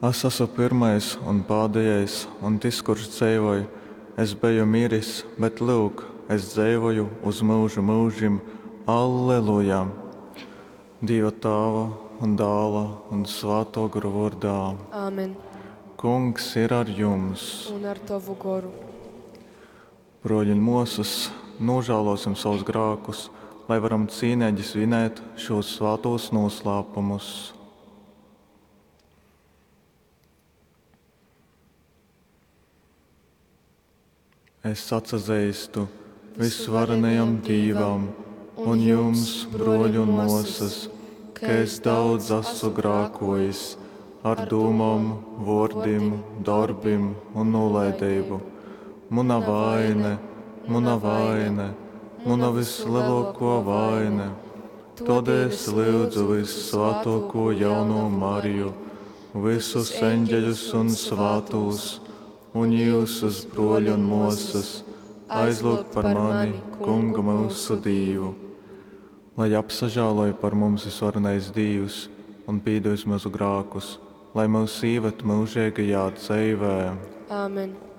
Es asu pyrmais un pādejais un tys, kurš dzeivoj. Es beju miris, bet, lyuk, es dzeivoju uz myužu myužim. Alleluja. Dīva Tāva un Dāla un Svātō Gora vōrdā. Āmen. Kungs ir ar jums! Un ar tovu goru. Brōļi un mōsas, nūžālōsim sovus grākus, lai varam cīneigi svinēt šūs svātūs nūslāpumus. Es atsazeistu vysvarenajam Dīvam un jums, brōļi un mōsas, ka es daudz asu grākōjis ar dūmom, vōrdim, dorbim un nūlaideibu. Muna vaine, muna vaine, muna vyslelōkō vaine. Tōdēļ es lyudzu vyssvātōkū jaunovu Mariju, vysus eņģeļus un svātūs, un jyusus, brōļi un mōsas, aizlyugt par mani Kungu myusu Dīvu. Lai apsažāloj par mums vysvarenais Dīvs un pīdevis myusu grākus, lai myus īvad myužeigajā dzeivē. Āmen.